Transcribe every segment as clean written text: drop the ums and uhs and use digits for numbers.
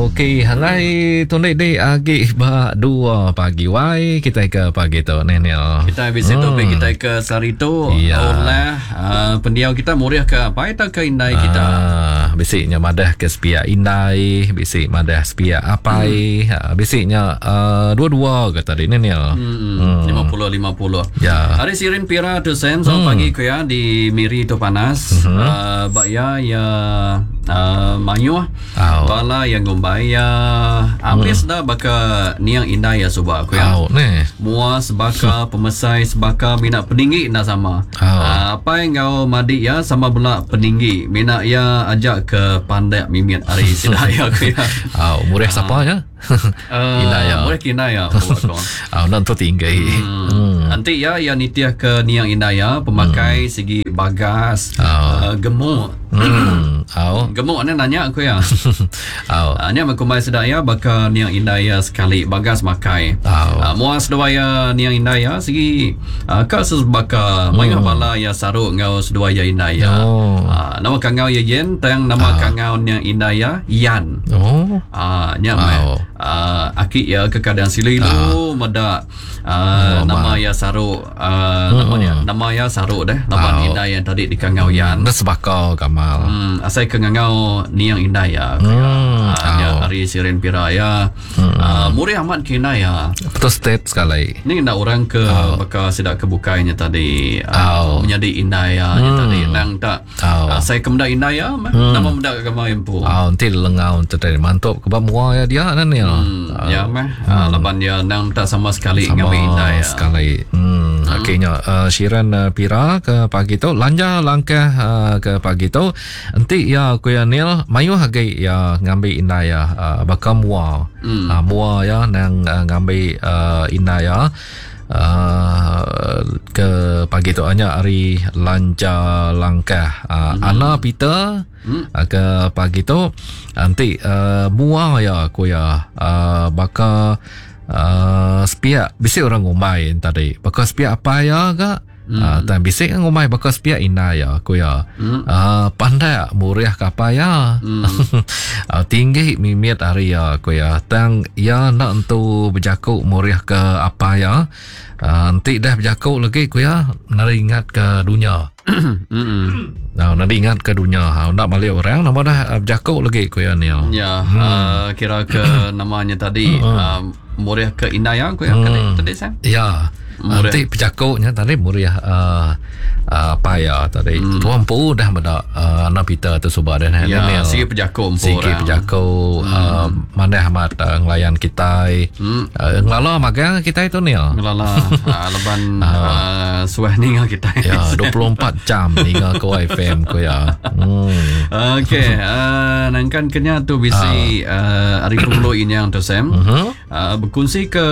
Okey, hangai tundi di agi ba 2 pagi wai kita ke pagi tu ni ni. Kita bisi hmm. topik kita ke sehari tu ya. Olah uh, pendiau kita murih ke apa atau ke indai kita. Uh, bisi nya madah ke sepiak indai, bisi madah sepiak apai, hmm. uh, bisi nya uh, dua-dua ke tadi ni ni. Hmm. 50 50. Ya. Hari Sirin Pira tu Sam, selamat hmm. pagi ku ya di Miri tu panas. Hmm. Uh, ba ya ya uh, mayuh Au. Bala iya ngumbai iya ambis enda baka niang indai iya suba ku iya. Au neh. Mua sebaka, pemesai sebaka mina peninggi enda sama. Au. Apai enggau madi iya sama bela peninggi mina iya aja ke pandak mimit ari sida iya ku iya. Au murih sapa nya? Indai iya. Murih ke indai iya ku aku. Au enda entu tinggi. Hmm. Enti iya iya nitih ke niang indai iya pemakai sigi bagas, Au. gemuk. Hmm. Au. Gemuk ne nanya ku iya. Au. Uh, nya meh kumbai sida iya baka niang indai iya sekali bagas makai. Au. Uh, mua seduai iya niang indai iya sigi uh, ka sebaka mayuh bala iya saru enggau seduai iya indai iya. Oh. Uh, nama kangau iya Yen tang nama kangau niang indai iya Yan. Oh. Uh, nya meh Au. uh, aki iya kekadang silu-ilu meda Uh, nama iya saru uh, nama nya nama iya saru deh laban Au. indai yang tadi dikangau Yan. Enda sebaka gamal. Hmm, asai ke ngangau niang indai iya. Hmm, Uh, nya au. ari Sirin Pira iya. Uh, murih amat ke indai iya. Betul state sekali. Ni enda orang ke baka sida ke bukai nya tadi uh, Au. menyadi indai iya nya tadi nang tak Au. asai ke meda indai iya meh nama meda gamal iya empu. Au enti lengau enti tadi mantup ke ba mua iya dia nah ni. Hmm, ya meh uh, laban iya nang tak sama sekali Sama ngambi indai iya. sekali. Hmm. Okey nya uh, Syiran uh, Pira ke pagi tu lanja langkah uh, ke pagi tu enti iya ku iya Neil mayuh agi iya ngambi indai iya uh, baka mua. Hmm. Uh, mua iya nang uh, ngambi uh, indai iya uh, ke pagi tu nya ari lanja langkah uh, Ana Peter uh, ke pagi tu enti uh, mua iya ku iya uh, baka uh, sepiak bisi orang ngumbai tadi baka sepiak apai iya ga hmm. uh, tang bisi kan ngumbai baka sepiak indai iya ku iya Hmm. uh, pandak murih ke apai iya Hmm. uh, tinggi mimit ari iya ku iya tang iya enda entu bejaku murih ke apai iya uh, enti dah bejaku lagi ku iya nari ingat ke dunya Hmm. Nah, nari ingat ke dunya ha enda balik orang nama dah uh, bejaku lagi ku iya ni Ya, hmm. uh, kira ke namanya tadi uh, murih ke indai aku ya hmm. tadi Sam. Ya. Murih. Nanti pejakuknya tadi murih uh, uh, apa ya tadi. Hmm. Tuan empu dah meda uh, anak Peter tu suba dah Ya, Neil. sigi pejakuk empu Sigi orang. pejakuk hmm. uh, manah amat uh, ngelayan kita. Hmm. Uh, ngelala magang kita itu Neil. Ngelala uh, laban uh, suah ninga kita. Ya, 24 jam ninga ko FM ko ya. Hmm. Okey, uh, nangkan kenya tu bisi uh, hari Penghulu Inyang tu Sam. Mhm. Uh, berkongsi ke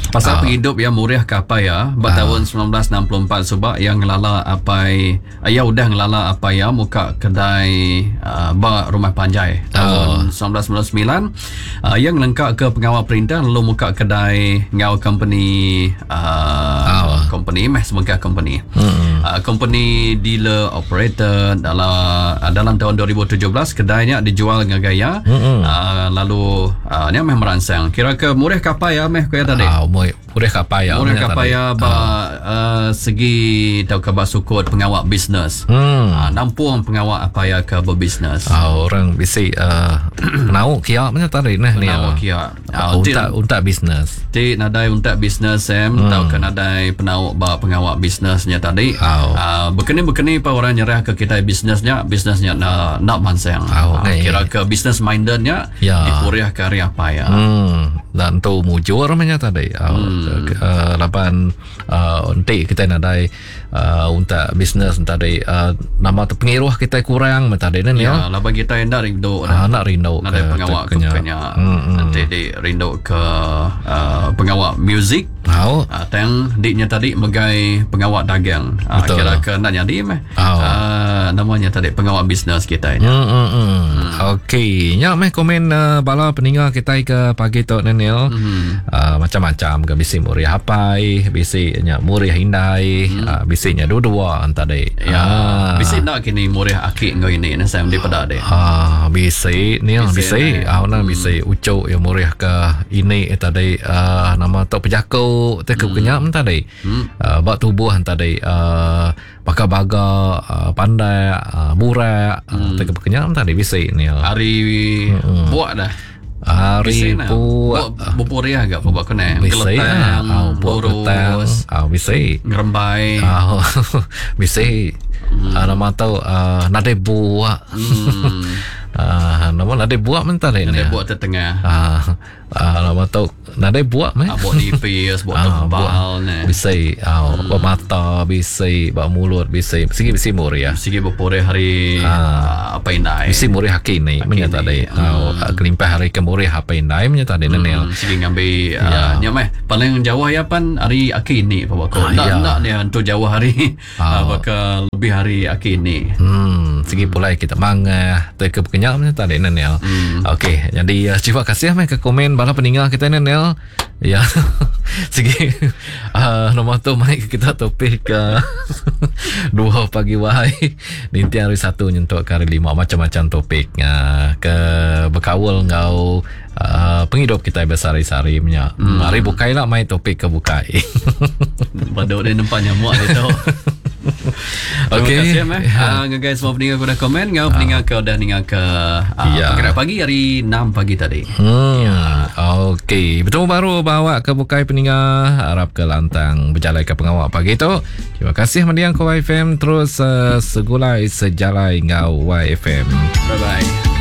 pasal penghidup yang murih ke apai ya ba tahun 1964 suba yang ngelala apai ya udah ngelala apai ya muka kedai uh, ba rumah panjai tahun 1999 uh, yang ngelengkap ke pengawal perintah lalu muka kedai ngau company uh, company meh sebagai company Hmm. uh, company dealer operator dalam uh, dalam tahun 2017 kedainya dijual ngagai ya Hmm. uh, lalu uh, nya meh merangsang kira ke murih kapai ya meh ku ya tadi Ah, murih kapai ya. Murih nya kapai tadi. ya ba uh, segi tau ke ba sukut pengawal bisnes Hmm. uh, nampung pengawal apa ya ke berbisnes Ah, orang bisi uh, penau kia macam tadi nah ni. Penau kia. Ah, Ah, untak untak bisnes. Ti nadai untuk bisnes Sam hmm. tau ke nadai penau ba pengawal bisnesnya tadi. Au. Uh, bekeni-bekeni pa orang nyerah ke kita bisnesnya, bisnesnya na nak mansang. Au, Ah, ngai. kira ke bisnes mindednya Ya. dipuriah ke hari apa ya. Hmm, dan tu mujur macam tadi. Hmm. Uh, laban uh, nanti kita nadai uh, untuk bisnes tadi uh, nama tu pengiruh kita kurang macam tadi ni Ya, ya. laban kita hendak rindu Ah, nak rindu nadai pengawal ke kenya. kenya. Hmm. Nanti di rindu ke uh, pengawal music. Au. Uh, tang diknya tadi megai pengawal dagang. Uh, Betul. kira ke nak jadi meh. Au. Uh, namanya tadi pengawal bisnes kita ini. Hmm, hmm, hmm. Okey, nya meh komen uh, bala peninga kita ke pagi tu ni. Nil. Mm-hmm. Uh, macam-macam ke bisi murih apai, bisi nya murih indai, mm. uh, bisi nya dua-dua tadi. Ya. Ah. Bisi nak kini murih aki enggau ini ne Sam daripada deh. Ah, bisi Nil, bisi. bisi. Ah, mm. bisi ucuk yang murih ke ini tadi uh, nama tu pejaku te ke mm. kenyam tadi. Mm. Uh, ba tubuh tadi uh, baka baga uh, pandak uh, burak uh, hmm. uh, kenyam tadi bisi ni hari hmm. buak dah hari buak bupuriah agak buak kena bisi ah buak lurus ah bisi ngerembai ah bisi hmm. uh, nama tu uh, nadai buak hmm. uh, nama nadai buak mentah ni nadai buak tengah ah Ah, nama tu nadai buak meh. Ah, buak nipis, buak ah, tebal ne. Bisi, ah, hmm. buak mata bisi, buak mulut bisi. Sigi bisi muriah. Sigi bepurih hari ah, apa indai. Bisi murih haki ni menya tadi. Hmm. Ah, kelimpah hari ke murih apa indai menya tadi hmm. Nenil. Sigi ngambi ya. uh, nya meh. Paling jauh ya pan hari aki ni pa bako. Ah, nak ya. nak dia entu jauh hari. Ah. Baka lebih hari aki ni. Hmm, segi pulai kita mangah te ke kenyap ni tadi Nenel. Hmm. Okey, jadi uh, terima kasih meh ke komen bala peninggal kita Nenel. Ya. segi uh, nombor tu mai ke kita topik uh, dua pagi wahai ninti hari satu nyentuk ke hari lima macam-macam topik uh, ke berkaul ngau uh, pengidup kita besari-sari punya. Hmm. Hari bukai lah mai topik ke bukai. Baduk dia nampak nyamuk dia tu. Okey. Terima kasih meh. Uh, guys semua peninggal ke dah komen, ngau peninggal ke dah ningal ke uh, Ya. Pergerak pagi hari 6 pagi tadi. Hmm. Ya. Okey, bertemu baru bawa ke bukai peninggal harap ke lantang berjalan ke pengawak pagi tu. Terima kasih mendiang ke YFM terus uh, segulai sejalai ngau YFM. Bye bye.